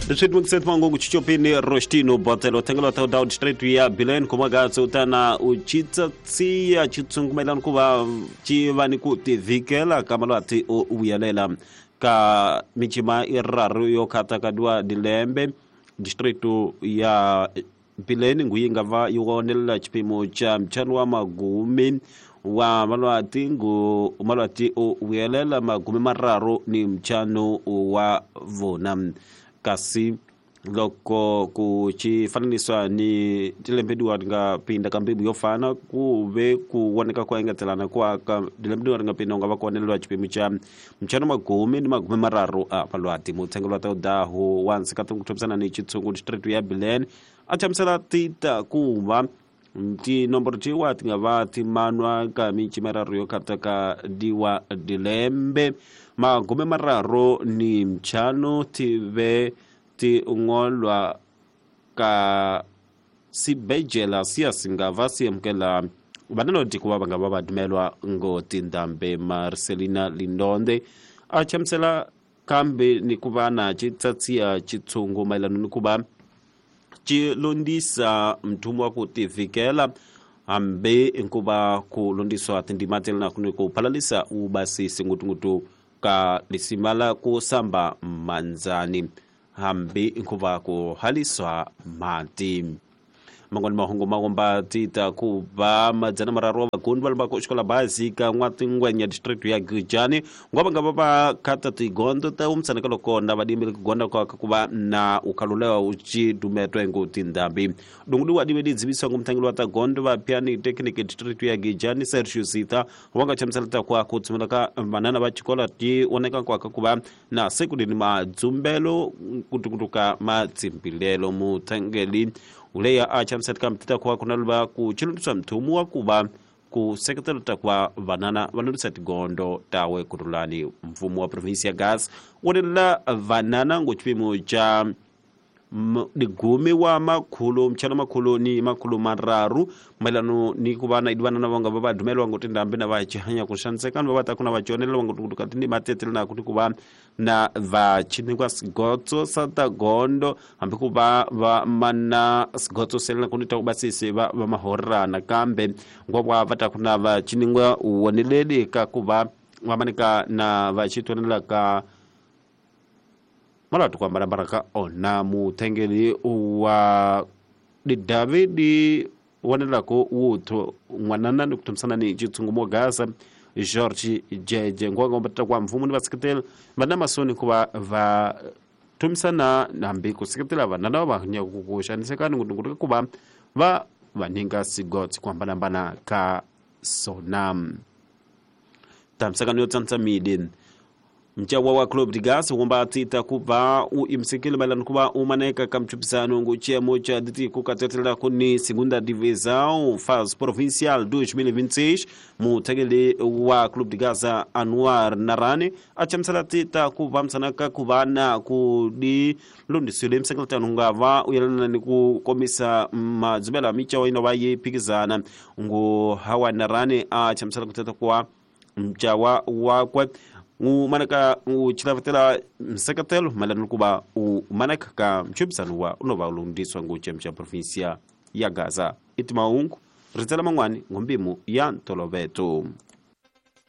Leswi mangungu chichopini Rostino Botelo thengelo ta down straight ya Bilen kumagatso utana uchitsatsiya chitsungumelani ku va ci va ni ku tivikela ka malwati o vuyelela ka michima iraru yo khata ka dua dilembe district ya Bileni nguyi nga va yi wonelela xipimo xa ntlhanu wa magumi wa malwati ngu malwati o vuyelela magumi mararu ni ntlhanu wa vona kasi loko ku xi fananisiwa ni tilembe diwa ri nga pinda ka mbimu yo fana ku ve ku voneka ku engetelana kwa ka tilembe diwa ri nga pinda u nga va ku oneleriwa xipimo xa ntlhanu magumi ni magumi mararu a malwati mutshengelo wa taudahu wa nsikati ku thomisana ni xitshungu district ya Bilen a hlamusela ti ta ku va tinomboro tiwa ti nga va ti manwa ka minci mararu yo kataka diwa dilembe magume mararu ni ntlhanu ti ve ti ngolwa ka sibejela siya singava si amukela vanaloti ku va va nga va va dumelwa ngo tindhambe Marcelina Lindonde a hlamusela kambe ni ku va na xitsatsiya xitshungu mayelana ni ku va xi londzisa mthumo wa ku tivikela hambi ku va ku londzisiwa tindzima telanaku ni ku phalalisa wu basisi ngutunguthu ka lisima la ku samba mandzani hambi ku va ku halisiwa mati. Man'wani mahungu ma komba ti ta ku va madzana mararu wa vagundi va lombaka xikola bazi ka n'watingwenya district ya Gujani ngwa va nga va va khata tigondo ta umsana ka loko na vadimile ku gonda kwa ku va na ukhalulewa u ci dumetwa ngo tindhambi dungudiwa dive di dzivisiwa ngo mutangeli wa ta gondo va piani technic district ya Gijani Sergio Sita wa nga chamusela ta kwa ku tshumela ka vanana va xikola ti voneka kwa ka ku va na sekuleni madzumbelo kutukutuka matsimbilelo mutangeli uleya a chamusela ka mtita kwa kuna luva ku chilundiswa mthumu wa ku va ku seketela ta ku va vanana va lundisa tigondo tawe kurulani mfumo wa provinsi ya Gas wonelela vanana ngo xipimo xa digumi wa makhulu mchana makhulu ni makhulu mararu mayelano ni ku va na vanana va nga va va dumeliwa ngo tindhambi na va chihanya ku xaniseka va va ta ku na va chonela va ngo ka tindima tetele na ku ku va na va chinikwa sigotso sa ta gondo hambi ku va va mana sigotso selena ku ni ta ku basisi va va mahorana kambe ngwa va ta ku na va chiningwa woneleli ka ku va va manika na va chitwanela ka malatu ku hambanahambana ka ona muthengeli wa didavi di vonelako wuthu n'wanana ni ku thomisana ni xitshungu mo Gaza George Jeje ngwangombatata kwa mfumo ni vaseketeli va na masoni ku va va thomisana hambi ku seketela vanana va va ku xanisekani ngutunguthu ku va va va nyika sigotsi ku hambanahambana ka sona tamisakano yo tsantsa midi mcawa wa Club de Gas wumba tita ku va u imisekile mayelana ku va u maneka ka mchupisano ngu xiyimo xa tiko ka tetela ku ni Segunda Divisão fase provincial 2026 muthekeli wa Club de Gas Anwar Narani a chamusela tita ku va msanaka ku va na ku di lundisile miseketano nga va u yelana ni ku komisa madzubela micawa ino va yi phikizana ngu Hawa Narani a chamusela ku teta ku va mcawa wakwe u manaka u chilavetela nseketelo mayelana ku va u manaka ka mchupisano wa u no va u lundziswa ngopfu xa provinsia ya Gaza i timahungu ritsela man'wani ngombimu ya ntoloveto.